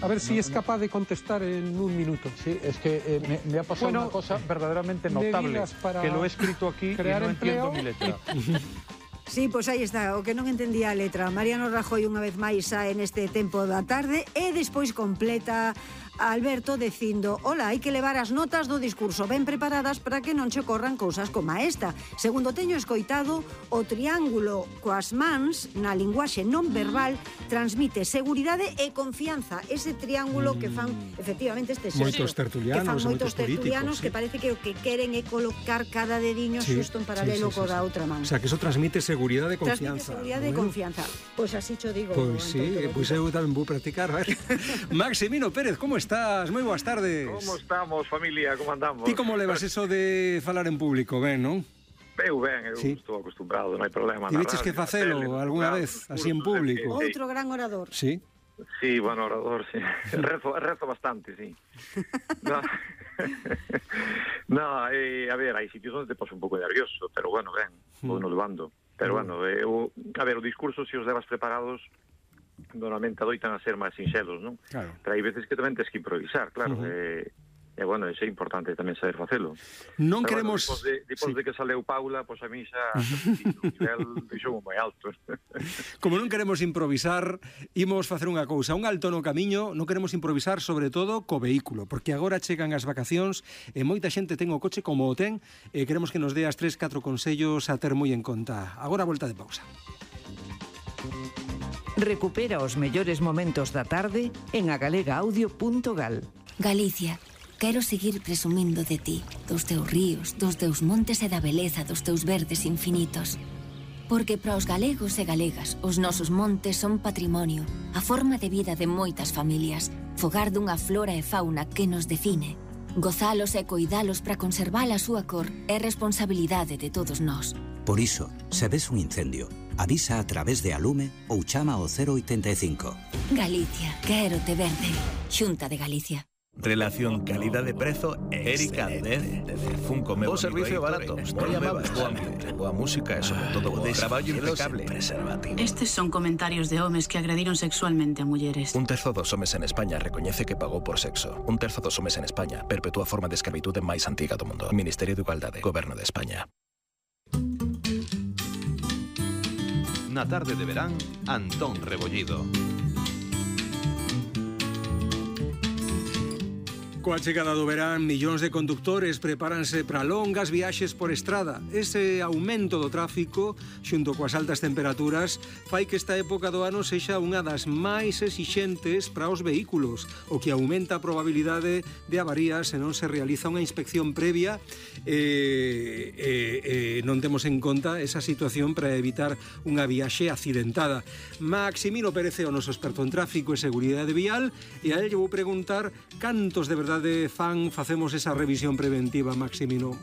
A ver si es capaz de contestar en un minuto. Sí, es que me ha pasado una cosa verdaderamente notable, que lo he escrito aquí y no entiendo mi letra. Sí, pois aí está, o que non entendía a letra. Mariano Rajoy unha vez máis sae neste tempo da tarde e despois completa Alberto dicindo: "Ola, hai que levar as notas do discurso ben preparadas para que non che ocorran cousas como esta. Segundo teño escoitado, o triángulo coas mans na linguaxe non verbal transmite seguridade e confianza." Ese triángulo que fan efectivamente este xesto. Moitos tertulianos, moitos tertulianos que parece que o que queren é colocar cada dediño xusto en paralelo co da outra man. O sea, que eso transmite seguridade e confianza. Transmite seguridade e confianza. Pois así cho digo. Pois sí, pois eu tamén vou practicar, a ver. Maximino Pérez, como estás? Moi boas tardes. Como estamos, familia? Como andamos? Ti como levas eso de falar en público, ben, non? Eu estou acostumbrado, non hai problema. Ti veches que facelo algunha vez, así en público? Outro gran orador. Sí. Sí, bueno, orador, sí. Rezo bastante, sí. No, a ver, hai sitios onde te poso un pouco nervioso, pero bueno, ben, vou no levando. Pero bueno, a ver, o discurso, se os levas preparados, normalmente adoitan a ser máis sinxelos, non? Claro. Pero hai veces que tamén tens que improvisar, claro. E bueno, é importante tamén saber facelo. Non pero queremos... Bueno, depois de que saleu Paula, pois a mí xa o nivel deixou moi alto. Como non queremos improvisar, imos facer unha cousa, un alto no camiño. Non queremos improvisar sobre todo co vehículo, porque agora chegan as vacacións e moita xente ten o coche como o ten, e queremos que nos dé as 3-4 consellos a ter moi en conta. Agora a volta de pausa. Recupera os mellores momentos da tarde en agalegaudio.gal. Galicia, quero seguir presumindo de ti, dos teus ríos, dos teus montes e da beleza dos teus verdes infinitos. Porque para os galegos e galegas, os nosos montes son patrimonio, a forma de vida de moitas familias, fogar dunha flora e fauna que nos define. Gozalos e coidalos para conservar a súa cor é responsabilidade de todos nós. Por iso, se ves un incendio, avisa a través de Alume ou chama ao 085. Galicia, quero te verde. Xunta de Galicia. Relación calidade-prezo Erika 10 Funko Meu. O servicio barato, moi amable, boa ambiente, boa música e sobre todo boa traballo impecable. Estes son comentarios de homes que agrediron sexualmente a mulleres. Un terzo dos homes en España recoñece que pagou por sexo. Un terzo dos homes en España perpetúa a forma de escravitude máis antiga do mundo. Ministerio de Igualdade, Goberno de España. Na tarde de verán, Antón Rebollido. Coa chegada do verán, millóns de condutores prepáranse para longas viaxes por estrada. Ese aumento do tráfico, xunto coas altas temperaturas, fai que esta época do ano sexa unha das máis exixentes para os vehículos, o que aumenta a probabilidade de avarías se non se realiza unha inspección previa non temos en conta esa situación para evitar unha viaxe accidentada. Maximino Pérez é o noso experto en tráfico e seguridade vial, e a él lle vou preguntar cantos de verdade facemos esa revisión preventiva, Maximino.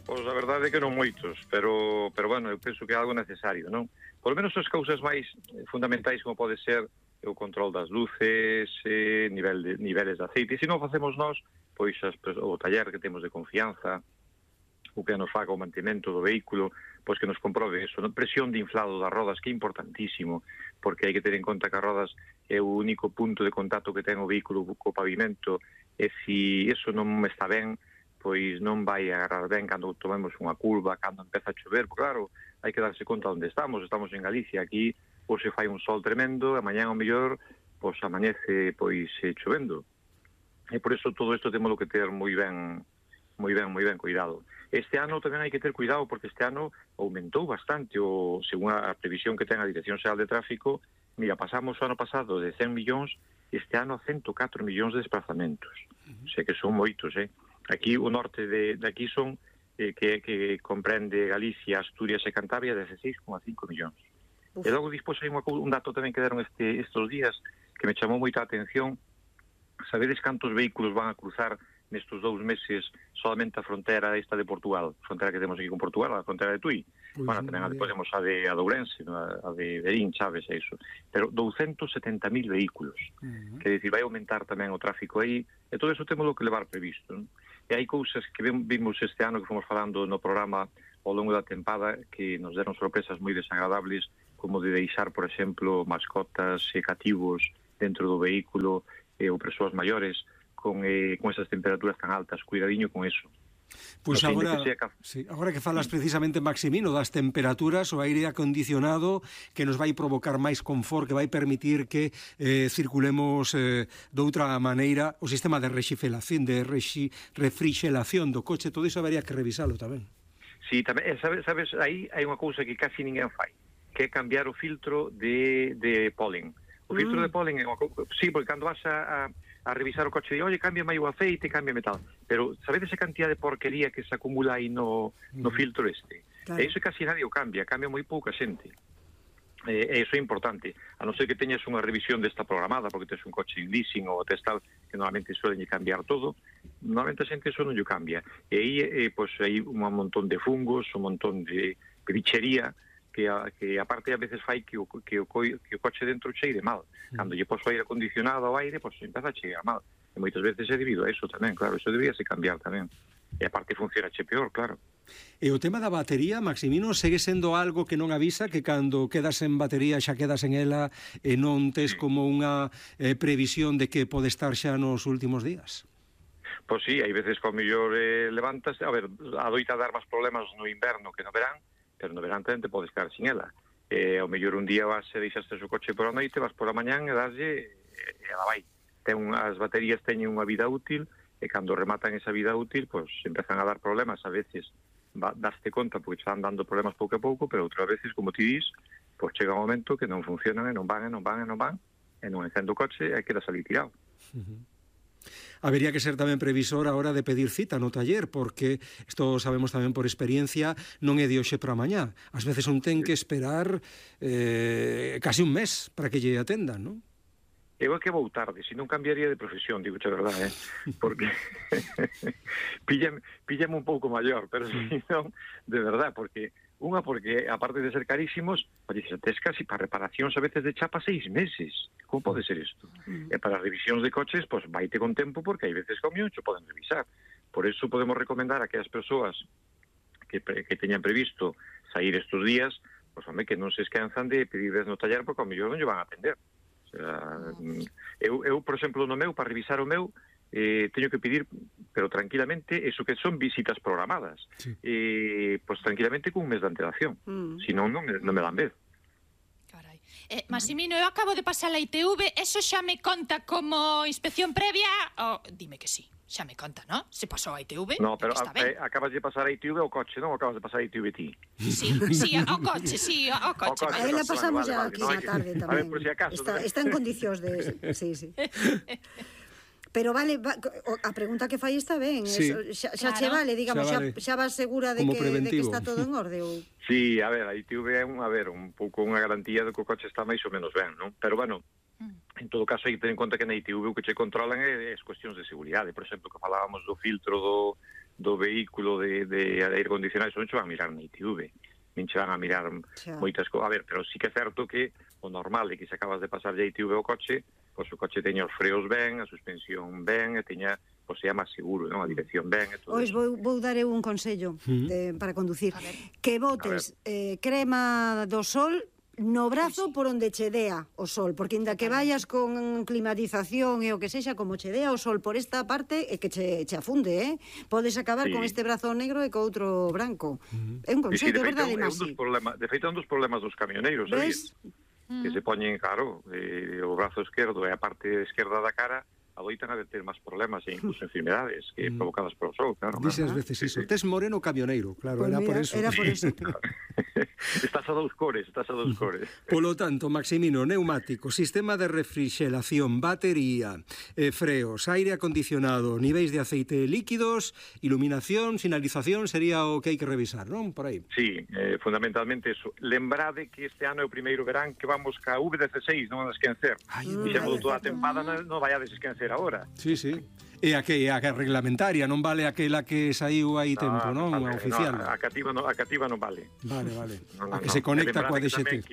Pois a verdade é que non moitos, pero bueno, eu penso que é algo necesario, non? Por lo menos as cousas máis fundamentais como pode ser o control das luces, niveles de aceite. E se non facemos nós, pois o taller que temos de confianza, o que nos faga o mantemento do vehículo, pois que nos comprobe eso, presión de inflado das rodas, que é importantísimo, porque hai que ter en conta que as rodas é o único punto de contacto que ten o vehículo co pavimento, e se iso non está ben, pois non vai agarrar ben cando tomemos unha curva, cando empeza a chover, porque claro, hai que darse conta onde estamos en Galicia, aquí pois se fai un sol tremendo, a mañá ao mellor pois amanece pois chovendo, e por iso todo isto temos que ter moi ben cuidado. Este ano tamén hai que ter cuidado, porque este ano aumentou bastante, según a previsión que ten a Dirección Xeral de Tráfico. Mira, pasamos o ano pasado de 100 millóns, este ano a 104 millóns de desplazamentos. O sea que son moitos, Aquí o norte de aquí son, que comprende Galicia, Asturias e Cantabria, 16,5 millóns. E logo despois hai un dato tamén que deron estes días que me chamou moita atención. Sabedes cantos vehículos van a cruzar nestes 2 meses solamente a frontera esta de Portugal, a frontera que temos aquí con Portugal, a frontera de Tui? Pues bueno, tamén podemos a de Ourense, a de Berín, Chaves e iso. Pero 270.000 vehículos. Que dicir, vai aumentar tamén o tráfico aí, e todo iso temos que levar previsto, non? E hai cousas que vimos este ano que fomos falando no programa ao longo da tempada que nos deron sorpresas moi desagradables, como de deixar, por exemplo, mascotas e cativos dentro do vehículo ou persoas maiores con esas temperaturas tan altas. Cuidadiño con eso. Pois agora que falas precisamente, Maximino, das temperaturas, o aire acondicionado que nos vai provocar máis confort, que vai permitir que circulemos doutra maneira o sistema de refrigeración do coche, todo iso habería que revisalo tamén. Sí, tamén, sabes, aí hai unha cousa que casi ninguén fai, que é cambiar o filtro de polen. O filtro de polen é unha cousa, sí, porque cando vas a revisar o coche e, oye, cámbiame o aceite, cámbiame tal. Pero sabedes a cantidad de porquería que se acumula aí no filtro este? Claro. E iso casi nadie o cambia moi pouca xente. E iso é importante. A non ser que teñas unha revisión desta programada, porque tes un coche en leasing ou tes tal, que normalmente suelen cambiar todo, normalmente a xente iso non o cambia. E aí, pois, hai un montón de fungos, un montón de bichería, que aparte a veces fai que o coche dentro cheire mal. Cando lle poso aire acondicionado ao aire, pois empeza a cheirar mal. E moitas veces é debido a eso tamén, claro, eso deberíase cambiar tamén. E aparte funciona peor, claro. E o tema da batería, Maximino, segue sendo algo que non avisa, que cando quedas en batería xa quedas en ela e non tes como unha previsión de que pode estar xa nos últimos días? Pois sí, hai veces que ao mellor levantas, a ver, adoita dar máis problemas no inverno que no verán, pero no verán tamén te podes quedar sin ela. Ao mellor un día vas e deixaste o coche por a noite, vas por a mañán e daslle e ela vai. As baterías teñen unha vida útil e cando rematan esa vida útil, pois empezan a dar problemas. A veces daste conta porque están dando problemas pouco a pouco, pero outras veces, como ti dis, pois chega un momento que non funcionan e non van, e non encendo o coche e quedas ali tirado. Habería que ser tamén previsor a hora de pedir cita no taller, porque isto sabemos tamén por experiencia, non é de hoxe para mañá. Ás veces un ten que esperar casi un mes para que lle atendan, non? Eu é que vou tarde, se non cambiaría de profesión, digo a verdade, porque píllame un pouco maior, pero se non, de verdade, porque aparte de ser carísimos, tes casi para reparacións a veces de chapa 6 meses. Como pode ser isto? E para revisións de coches, pois vaite con tempo, porque hai veces que ao mellor xo poden revisar. Por eso podemos recomendar a aquelas persoas que teñan previsto sair estes días, pois home, que non se esquenzan de pedirles no taller, porque ao mellor non lle van a atender. O sea, eu, por exemplo, no meu, para revisar o meu, teño que pedir, pero tranquilamente, eso que son visitas programadas, pois tranquilamente con un mes de antelación, senón non me dan vez. Carai. Maximino, eu acabo de pasar a ITV, eso xa me conta como inspección previa? Dime que sí, xa me conta, non? Se pasou a ITV, no, pero acabas de pasar a ITV ao coche, non acabas de pasar a ITV ti? Sí, ao coche, sí, ao coche. Aí la pasamos ya aquí na tarde tamén. A ver, por si acaso. Está en condicións de... Sí. Pero vale, a pregunta que fai está ben, sí. Xa che vale, digamos, xa vas segura de que está todo en orde? Sí, a ver, a ITV é un pouco unha garantía de que o coche está máis ou menos ben, non? Pero, bueno, en todo caso hai que ter en conta que na ITV o que che controlan é as cuestións de seguridade. Por exemplo, que falábamos do filtro do vehículo de aire acondicionado, non che van a mirar na ITV, nin che van a mirar moitas cousas. A ver, pero sí que é certo que o normal é que se acabas de pasar de ITV ao coche, pois o coche teña os freos ben, a suspensión ben, e teña, pois sea máis seguro, non? A dirección ben e todo. Pois vou dar eu un consello para conducir. Que botes crema do sol no brazo por onde che dea o sol, porque inda que vayas con climatización e o que sexa, como che dea o sol por esta parte, é que che afunde, podes acabar con este brazo negro e co outro branco. É un consello, é verdade, Masi. De feito, é un dos problemas dos camioneiros, sabes? Que se poñen, claro, o brazo esquerdo e a parte esquerda da cara adoitan a ter máis problemas e incluso enfermedades que provocadas polo sol, claro. Dice ás veces iso, tes moreno camioneiro, claro, era por eso. Era por eso. Estás a dous cores. Polo tanto, Maximino, neumático, sistema de refrigeración, batería, freos, aire acondicionado, niveis de aceite líquidos, iluminación, sinalización, sería o que hai que revisar, non? Por aí. Sí, fundamentalmente eso. Lembrade que este ano é o primeiro verán que vamos ca V16, non a esquecer. Fixemos toda a tempada, non vayades a esquecer agora. Sí. E a reglamentaria, non vale aquela que saiu aí tempo, non? A oficial. A cativa non vale. Vale. A que se conecta coa DXT.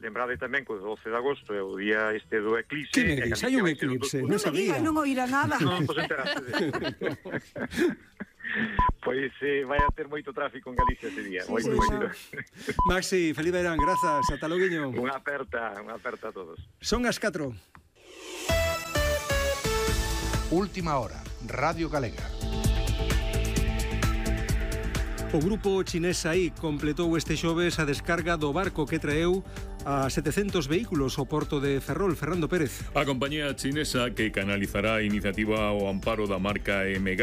Lembrade tamén que o 12 de agosto é o día este do eclipse. Que me dis? Hai un eclipse, non sabía. Non oíra nada. Non, pois enteraste. Pois vai a ter moito tráfico en Galicia ese día. Moito. Maxi, feliz verán, grazas, ata loguiño. Unha aperta a todos. Son as 4. Última hora, Radio Galega. O grupo chinés SAIC completou este xoves a descarga do barco que traeu a 700 vehículos ao porto de Ferrol. Fernando Pérez. A compañía chinesa que canalizará a iniciativa ao amparo da marca MG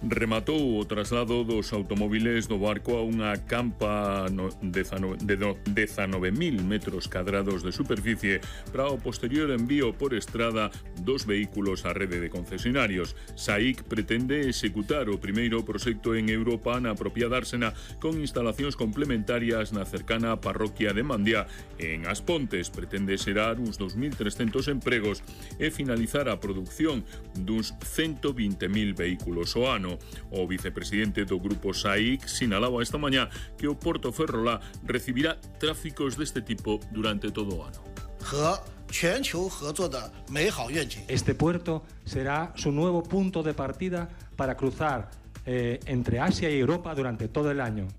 rematou o traslado dos automóviles do barco a unha campa de 19.000 metros cadrados de superficie para o posterior envío por estrada dos vehículos á rede de concesionarios. SAIC pretende executar o primeiro proxecto en Europa na propia dársena con instalacións complementarias na cercana parroquia de Mandía. En As Pontes pretende xerar uns 2.300 empregos e finalizar a produción duns 120.000 vehículos ao ano. O vicepresidente do grupo SAIC sinalaba esta mañá que o Porto Ferrolá recibirá tráficos deste tipo durante todo o ano. Este puerto será su nuevo punto de partida para cruzar entre Asia y Europa durante todo el año.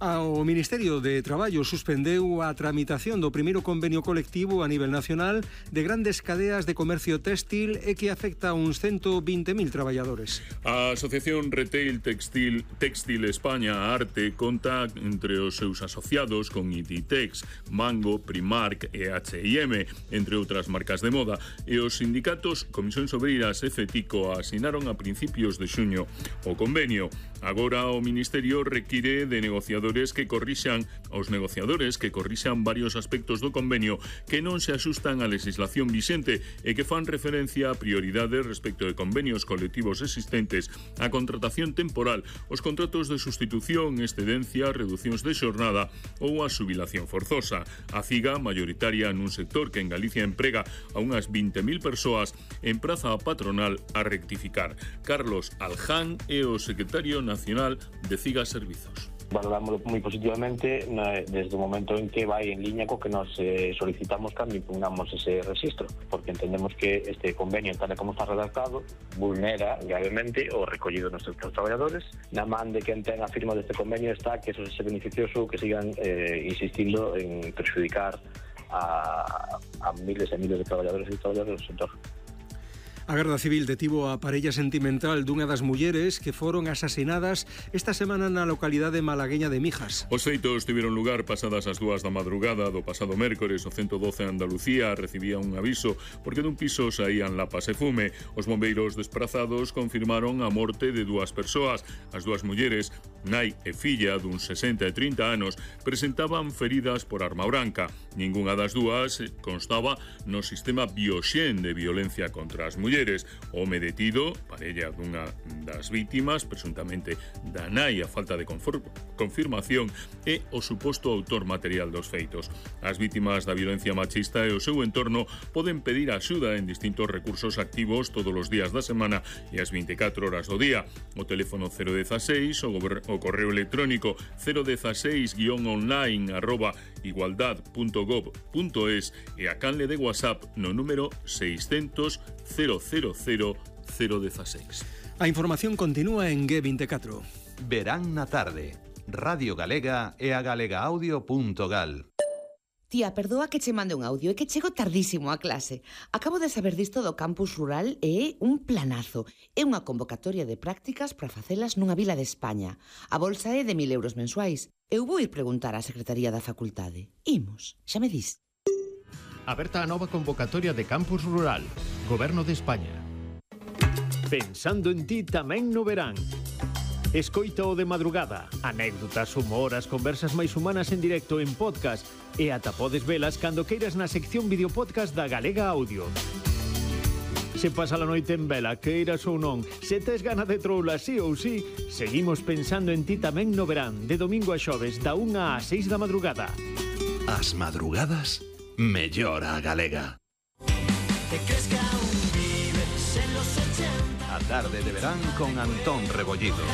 O Ministerio de Traballo suspendeu a tramitación do primeiro convenio colectivo a nivel nacional de grandes cadeas de comercio téxtil e que afecta a uns 120.000 traballadores. A Asociación Retail Textil España Arte conta entre os seus asociados con Inditex, Mango, Primark e H&M, entre outras marcas de moda, e os sindicatos Comisións Obreiras e FETICO asinaron a principios de xuño o convenio. Agora o Ministerio require de negociadores que corrixan varios aspectos do convenio que non se axustan á legislación vixente e que fan referencia a prioridades respecto de convenios colectivos existentes, a contratación temporal, os contratos de sustitución, excedencia, reducións de xornada ou a xubilación forzosa. A CIGA, maioritaria nun sector que en Galicia emprega a unhas 20.000 persoas, empraza a patronal a rectificar. Carlos Alján é o secretario nacional de CIGA Servizos. Valoramos moi positivamente desde o momento en que vai en liña co que nos solicitamos cando impugnamos ese registro, porque entendemos que este convenio, tal como está redactado, vulnera gravemente o recollido nos seus traballadores. Na man de quen ten a firma deste convenio está que eso se beneficioso que sigan insistindo en perjudicar a miles e miles de traballadores e traballadoras do sector. A Garda Civil detivo a parella sentimental dunha das mulleres que foron asasinadas esta semana na localidade malagueña de Mijas. Os feitos tiveron lugar pasadas as 2 da madrugada do pasado mércores. O 112 Andalucía recibía un aviso porque dun piso saían lapas e fume. Os bombeiros desprazados confirmaron a morte de 2 persoas. As 2 mulleres, nai e filla duns 60 e 30 anos, presentaban feridas por arma branca. Ningunha das 2 constaba no sistema Bioxen de violencia contra as mulleres. O home detido, parella dunha das vítimas, presuntamente da nai a falta de confirmación, é o suposto autor material dos feitos. As vítimas da violencia machista e o seu entorno poden pedir axuda en distintos recursos activos todos os días da semana e as 24 horas do día. O teléfono 016, o correo electrónico 016-online@igualdad.gov.es e a canle de WhatsApp no número 600 000 016. A información continúa en G24. Verán na tarde. Radio Galega e a galegaaudio.gal. Tía, perdoa que che mande un audio, é que chego tardísimo a clase. Acabo de saber disto do campus rural e é un planazo. É unha convocatoria de prácticas para facelas nunha vila de España. A bolsa é de 1.000 euros mensuais. Eu vou ir preguntar á Secretaría da Facultade. Imos, xa me dis. Aberta a nova convocatoria de campus rural. Goberno de España. Pensando en ti tamén no verán. Escoita o de madrugada. Anécdotas, humor, as conversas máis humanas en directo en podcast e ata podes velas cando queiras na sección videopodcast da Galega Audio. Se pasa a noite en vela, queiras ou non, se tes gana de troula sí ou sí, seguimos pensando en ti tamén no verán, de domingo a xoves, da 1 a 6 da madrugada. As madrugadas mellora a galega. A tarde de verán con Antón Rebollido.